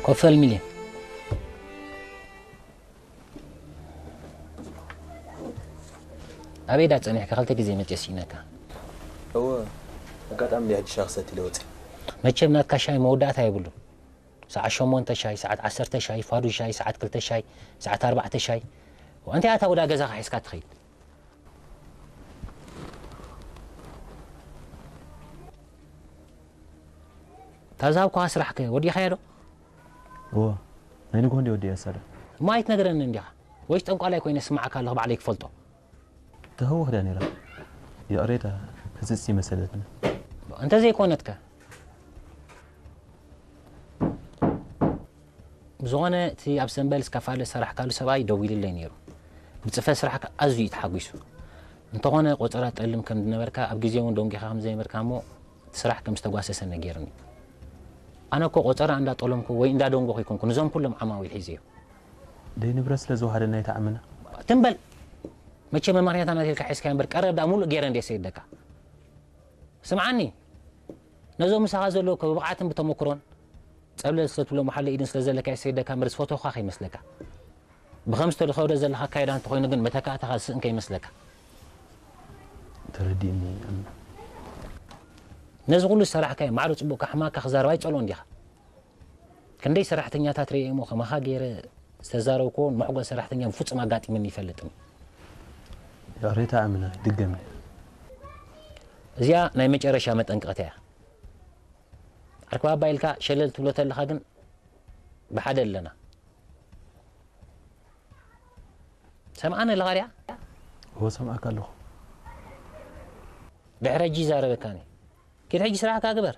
ኮፈል ሚልዮን። ኣበይ ዳ ጸኒሕካ? ክልተ ግዜ መጽየ ስኢነካ። እወ፣ ኣጋጣሚ እንዲ ሕጂ ሻሂ ክሰቲ ኢለ ወጺ። መቸም ናትካ ሻሂ መወዳእታ የብሉን። ሰዓት ሸሞንተ ሻሂ፣ ሰዓት ዓሰርተ ሻሂ፣ ፋዱ ሻሂ፣ ሰዓት ክልተ ሻሂ፣ ሰዓት ኣርባዕተ ሻሂ። እንታይ ኣታ ወዳ ገዛኻ ሒዝካ ትኸይድ? እታ ዝሃብኩኻ ስራሕ ከ ወዲእኻዮ ዶ? እወ፣ ናይ ንግሆ እንዲ ወዲእያ ሳዳ። እሞ ኣይትነግረንን እንዲኻ? ወይስ ጠንቋላይ ኮይነ ስምዓካ ኣለኹ ባዕለይ ክፈልጦ? ተህውኽ ድያ ነይራ? ይቕሬታ፣ ህጽጽ ይመሰለትኒ። እንተዘይኮነትከ? ብዝኾነ እቲ ኣብ ሰንበል እስካፋለ ዝሰራሕካሉ ሰብኣይ ደዊሉለይ ነይሩ። ብጽፈት ስራሕካ ኣዝዩ እዩ ተሓጒሱ። እንተኾነ ቆጸራ ትጠልም ከም ዝነበርካ ኣብ ግዜ እውን ደንጒኻ ከም ዘይነበርካ እሞ እቲ ስራሕ ከም ዝተጓሰሰ ነጊሩኒ። ኣነ እኮ ቆጸራ እንዳጠለምኩ ወይ እንዳደንጎኹ ኣይኮንኩ ነዞም ኩሎም ዓማዊል ሒዘዮም። ደይ ንብረት ስለ ዝወሃደና ኣይትዓምና። ትም በል። መቸም መማርያታ ናት ኢልካ ሒዝካዮ እምበር ቀረብ ደኣ ሙሉእ ገይረ እንድየ ሰይደካ። ስምዓኒ፣ ነዞም ምሳኻ ዘለዉ እኮ ብብቕዓትን ብተመኩሮን ጸብለል ስለ ትብሎም ብሓደ ኢድን ስለ ዘለካ እየ ሰይደካ እምበር ዝፈተኹኻ ከይመስለካ። ብኸም ዝተኸዶ ዘለኻ ኣካይዳ እንተኾይኑ ግን መተካእታኻ ዝስእን ከይመስለካ። ተረዲእኒ። ነዚ ኩሉ ዝሰራሕካዮ ማዕረ ጽቡቕ ካሕማካ ክዛረብ ኣይጸልኦን ዲኻ? ክንደይ ሰራሕተኛታት ርእየ እሞ ከማኻ ገይረ ዝተዛረብክዎን መሕጎስ ሰራሕተኛ ብፍጹም ኣጋጢምኒ ይፈልጥን። ይቕሬታ ኣምና ድገም። እዚኣ ናይ መጨረሻ መጠንቀቕታ እያ። ዓርኪ ባባ ኢልካ ሸለል ትብሎ ተለኻ ግን ብሓደ ኣለና። ሰምዓኒ ኣለኻ ድያ? እወ ሰምዓካ ኣለኹ። ድሕሪ ሕጂ ይዛረበካኒ። ኪድ ሕጂ ስራሕካ ግበር።